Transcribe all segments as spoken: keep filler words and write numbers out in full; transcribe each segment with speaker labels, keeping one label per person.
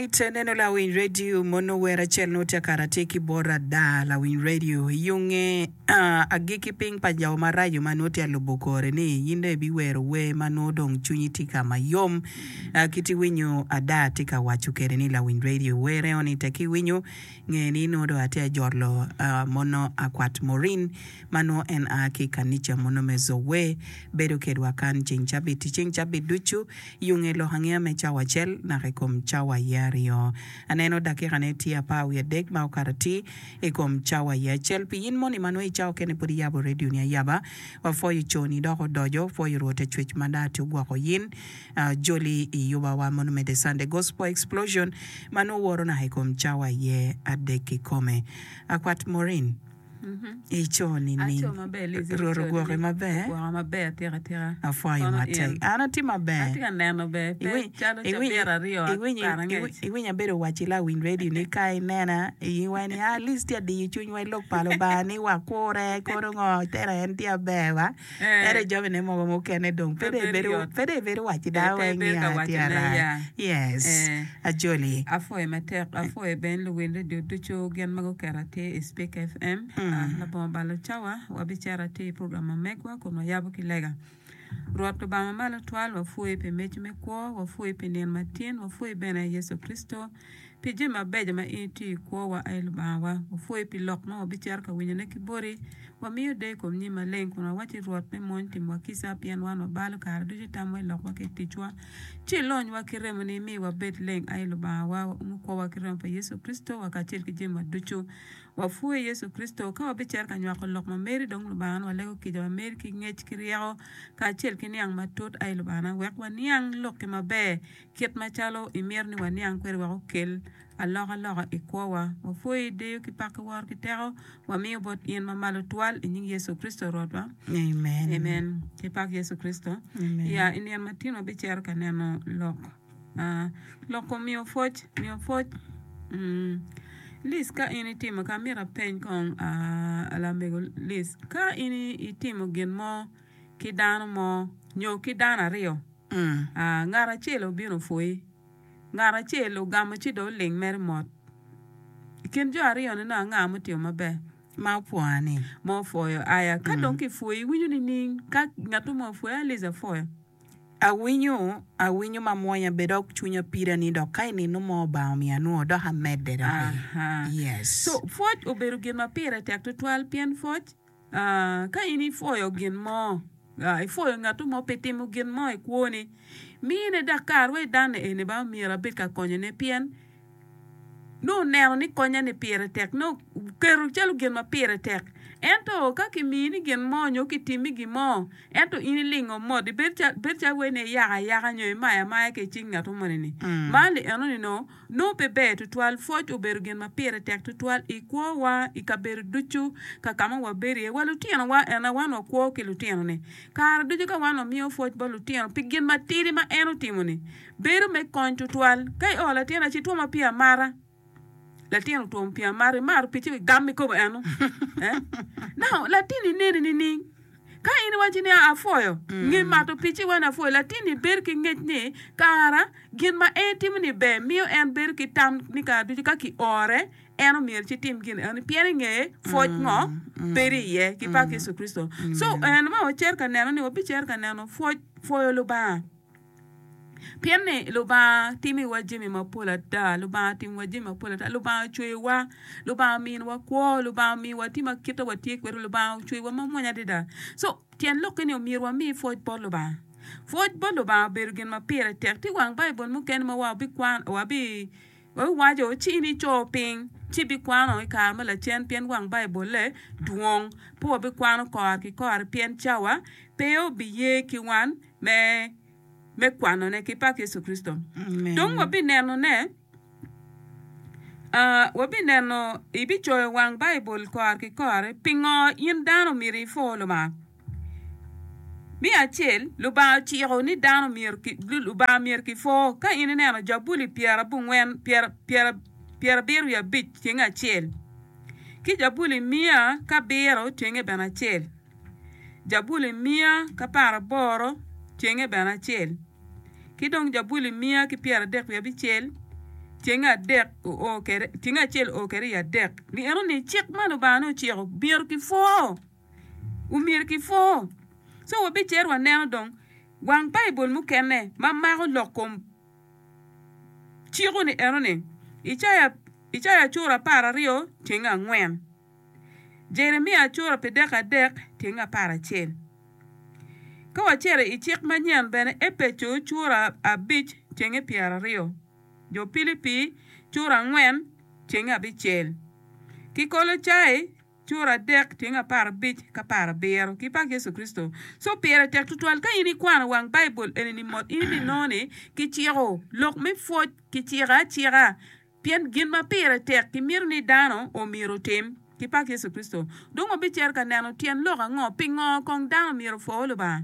Speaker 1: Alright, neno lawiny radio mono wer acel nongo tye kara tye ki bot ada lawiny radio yunge uh, agikki piny pa jo maraco ma nongo tye alubo kore ni in dong ibiwero wer ma nongo dong cwinyi tye ka mayom uh, kit iwinyo ada tye ka waco kede ni lawiny radio wer eno ni tek iwinyo nge ni nongo dong atye ajolo uh, mono akwat Morin ma nongo en a ki kanica mono me Zoe bedo kedwa kan ceng cabit ceng cabit ducu yunge lok angeya me cawa acel naka i kom cawa iye aryo aneno dakikane tye apar wiye adek ma okato atir i kom cawa iye acel pi in moni ma nongo i cawa kene pud iyabo radio ni ayaba wapwoyo coni dok odoco pwoyo rwot ecwec ma daa tye ogwoko yin uh, joli i yubawa mono me The Sunday Gospel Explosion ma nongo woro naka i kom cawa iye adek kikome akwat Morin ico nining
Speaker 2: Aco maber Liz,
Speaker 1: rwot
Speaker 2: ico
Speaker 1: ogwoki
Speaker 2: nining?
Speaker 1: maber
Speaker 2: Ogwoka maber atika atika.
Speaker 1: apwoyo
Speaker 2: Kono
Speaker 1: matek
Speaker 2: in.
Speaker 1: an atye maber
Speaker 2: Atye ka neno ber pe
Speaker 1: Iwiny-
Speaker 2: calo
Speaker 1: iwiny-
Speaker 2: cabit aryo
Speaker 1: iwinyo
Speaker 2: kare
Speaker 1: iwinyo
Speaker 2: angec.
Speaker 1: iwinyo abedo waci lawiny radio ni ka inena iwa ni at least tye adiyo cwinywa i lok pa Lubanga ni wakure kono ngo tera en tye aber wa
Speaker 2: Eh.
Speaker 1: ento jamine mogo mukene dong pe
Speaker 2: Pe
Speaker 1: dong
Speaker 2: bedo
Speaker 1: ibedo
Speaker 2: yot.
Speaker 1: pe dong ibedo waci
Speaker 2: Eh,
Speaker 1: dano
Speaker 2: pe
Speaker 1: weng
Speaker 2: ibedo
Speaker 1: ni
Speaker 2: ka
Speaker 1: a tye
Speaker 2: wacone
Speaker 1: arac
Speaker 2: ya.
Speaker 1: yes
Speaker 2: Eh.
Speaker 1: ajoli
Speaker 2: Apwoyo matek, apwoyo ben luwil radio ducu gin ma guketo atir i Speak FM. Ah, labongo balo cawa, wabicito atir i program ma megwa kun wayabo ki lega. Rwot Lubanga mamalo twal, wapwoyi pi mic me kwo, wapwoyi pi nino matin, wapwoyi bene Yecu Kricito pi jami mabeco ma in itiyo i kwowa ai Lubangawa. Wapwoyi pi lok ma wabicito ka winyone ki boti. Wamiyo deyo i kom nyim maleng kun wawaci Rwot me mony timwa kica pien wan wabalo kare ducu tamwa i lokwa ki i ticwa. Ci ilonywa ki remoni mi wabed leng ai Lubangawa, waumo kwowa ki remo pa Yecu Kricito wa kacel ki jamiwa ducu. Wapwoyi Yecu Kricito ka wabicito ka nywako lok ma meri dong Lubanga walego kica ma meri ki ngec ki ryeko kacel ki niang matut ai Lubanga wek waniang lokki maber kit macalo imito ni waniang kwede wek okel alokaloka i kwowa. Wapwoyi deyo ki pak ki woro ki teko wamiyo bot in mamalo twal i nying Yecu Kricito Rwotwa.
Speaker 1: amen
Speaker 2: Amen. Ki pak Yecu Kricito.
Speaker 1: Amen.
Speaker 2: Ya i nino matin wabicito ka neno lok. Ah, lok kom miyo pwoc, miyo pwoc. Mm. Liz ka in itimo ka mito apeny kong ah, lamego Liz ka in itimo gin mo ki dano mo nyo ki dano aryo
Speaker 1: Mm.
Speaker 2: ah, ngat acel obino opwoyi ngat acel ogamo ci dong oling mere mot i kin jo aryo ni nongo anga mutimo maber
Speaker 1: ma opwoya ni
Speaker 2: ma opwoyo aya ka dong kipwoyi iwinyo nining ka ngat mo opwoyi a Liz apwoyo
Speaker 1: awinyo awinyo mamwonya be dok cwinya pida ni dok ka i nino mo Obanga omiyo anwongo dok amedde doki
Speaker 2: Aha.
Speaker 1: yes
Speaker 2: So pwoc obedo gin ma pire tek tutwal pien pwoc ah, ka in ipwoyo gin mo ah, ipwoyo ngat mo pi timo gin mo i kwoni mine dok kare wa idane eni ba myero abed ka konyone pien nongo oneno ni konya ni pire tek nongo oketo calo gin ma pire tek ento ka kimini gin mo nyo kitimmi gin mo ento in ilingo mot ibedo cal bedo calo wai ni iyako ayaka nyo imayo amaya ki i cing ngat moni ni
Speaker 1: Mm.
Speaker 2: man li enoni no nongo pe ber tutwal pwoc obedo gin ma pire tek tutwal i kwowa i kabedo ducu ka ka ma wabedo iye wa lutinowa ena wan wakwo ki lutino-ni kare ducu ka wan wamiyo pwoc bot lutino pi gin matidi ma en otimo-ni bedo me kony tutwal ka i o latin aci twoma pii amata latin otwomo pii amata imato pii ci igamo ikobo eno eh? Now latin ineni nining ka in iwaci ni apwoyo nge mato pii ci iwaci ni apwoyo latin-ni bedo ki ngec ni kara gin ma en timo ni ber miyo en bedo ki tam ni kare ducu ka kiore en omyero ci tim gin eni pien inge pwoc ngo bedo iye ki pak Yecu Kricito so en ma wacito ka neno ni wabicito ka neno pwoc pwoyo Lubanga pien ni Lubanga timiwa jami mapol ata Lubanga otimiwa jami mapol ata Lubanga ocweyowa Lubanga ominiwa kwo Lubanga omiyowa tye ma kite watye kwede Lubanga ocweyowa mamwonya adada so tyen lokke ni omyero wami pwoc bot Lubanga pwoc bot Lubanga obedo gin ma pire tek tye wang Baibul mukene ma wabikwan wabi wabiwaco ci in ico piny ci ibikwano i kare ma lacen pien wang Baibulle dwong pe wabikwano kore ki kore pien cawa pe obiye ki wan me me kwanone ki pak Yecu Kricito.
Speaker 1: Amen.
Speaker 2: Dong wabinenone uh, wabineno ibicoyo wang Baibul kore ki kore pingo in dano myero ipwo Lubanga. Me acel, Lubanga ociko ni dano myero ki, Lubanga myero kipwo. Ka in ineno Jabuli pyerabongwen pyera pyera pyerabiro wiye abic tyenge acel ki Jabuli miya ki abiro tyenge bene acel Jabuli miya ki apar aboro tyenge bene acel ki dong Jabuli miya ki pyeradek wiye abicel tyenge adek oo kwede tyenge acel oo kwede i adek ni eno ni cik ma Lubanga nongo ociko myero kipwo omyero kipwo so wabicito waneno dong wang Baibul mukene ma mako lok kom ciko ni eno ni Icaya Icaya cura apar aryo tyenge angwen Jeremia cura pidek adek tyenge apar acel ka wacito i cik manyen bene Epeco cura abic tyenge pyeraryo Jo Pilipi cura angwen tyenge abicel ki Kolocai cura adek tyenge apar abic ki apar abiro ki pak Yecu Kricito. So pire tek tutwal ka in ikwano wang Baibul eni-ni mot in ibinongo ni kiciko lok me pwoc kiciko acika pien gin ma pire tek kimito ni dano omyero otim ki pak Yecu Kricito. Dong wabicito ka neno tyen lok ango pingo kong dano myero opwo Lubanga.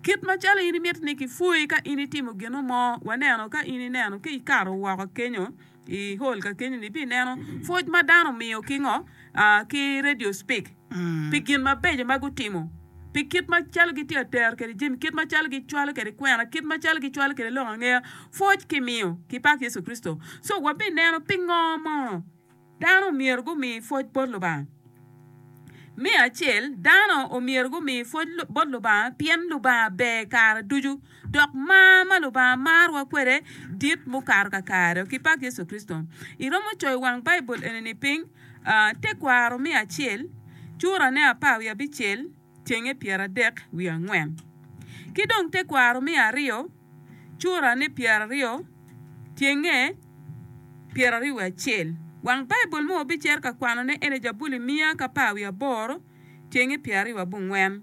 Speaker 2: Kit macalo in imito ni kipwoyi ka in itimo gin mo, waneno ka in ineno ka ikato woko kenyo i hall ka kenyo-ni ibineno pwoc ma dano omiyo ki ngo ki radio speak pi gin mabeco ma gutimo, pi kit macalo gitye ka tero kwede jami, kit macalo gicwalo kwede kwena, kit macalo gicwalo kwede lok angeya, pwoc kimiyo ki pak Yecu Kricito. So wabineno pingo mo Dano omyero gumi pwoc bot Lubanga. Me acel, dano omyero gumi pwoc bot Lubanga pien Lubanga ber kare ducu, dok mar ma Lubanga marowa kwede dit mukato kakare. Ki pak Yecu Kricito. Iromo coyo wang Baibul eni-ni piny, Tekwaro me acel, curane apar wiye abicel, tyenge pyeradek wiye angwen. Ki dong tekwaro me aryo, curane pyeraryo, tyenge pyeraryo wiye acel. Wang Baibul ma wabicito ka kwanone ene Jabuli miya ki apar wiye aboro, tyenge pyeraryo wiye abongwen.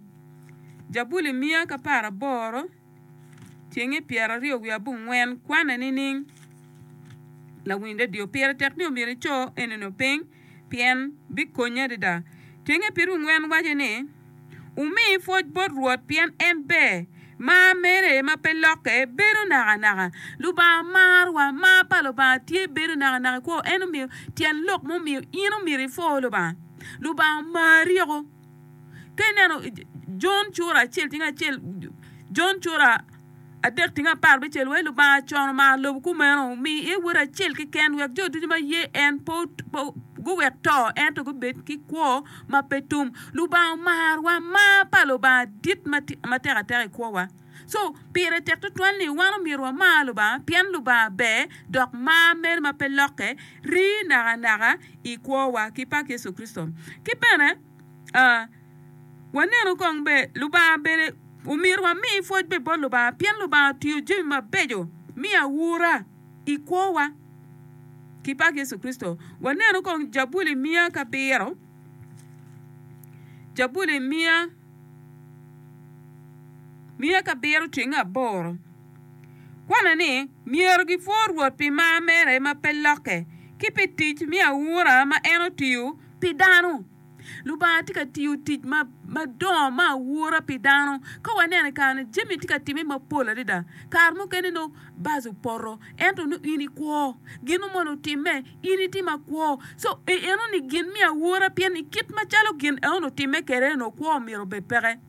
Speaker 2: Jabuli miya ki apar aboro, tyenge pyeraryo wiye abongwen kwane nining? Lawiny redio, pire tek ni omyero ico enino piny pien bikonyi adada. Tyenge pyeraryo wiye angwen waco ni, Wumi pwoc bot Rwot pien en ber, mar mere ma pe lokke bedo nakanaka. Lubanga marowa, mar pa Lubanga tye bedo nakanaka i kwo. En omiyo tyen lok mumiyo in omyero ipwo Lubanga. Lubanga omari woko. Ka ineno Jon cura acel tinga acel, Jon cura adek tinga apar abicel wai Lubanga con omaro lobo kumeno, omiyo iye Wode acel keken wek jo ducu ma ye en pe guwek to ento gubed ki kwo ma pe tum. Lubanga omarowa, mar pa Lubanga dit matek ateka i kwowa. So, pire tek tutwal ni wan omyero wamar Lubanga pien Lubanga ber dok mar mere ma pe lokke rii nakanaka i kwowa ki pak Yecu Kricito. Ki bene, Wanenu kong be Lubanga bene omyero wami pwoc be bot Lubanga pien Lubanga otiyo jami mabeco me aura i kwowa ki pak Yecu Kricito. Wanenu kong Jabuli miya ki abiro, Jabuli miya miya ki abiro tyeng aboro kwane ni, Myero gipwo Rwot pi mar mere ma pe lokke, ki pi tic me aura ma en otiyo pi dano. Lubanga tye ka tiyo tic madongo me aura pi dano. Ka waneno i kare-ni, jami tye ka timme mapol adada. Kare mukene nongo bac opoto ento nongo in ikwo. Gin mo moni otimme, in itye makwo. Co enoni gin me aura pien i kit macalo gin enoni otimme kwede-ni kwo myero obed peke.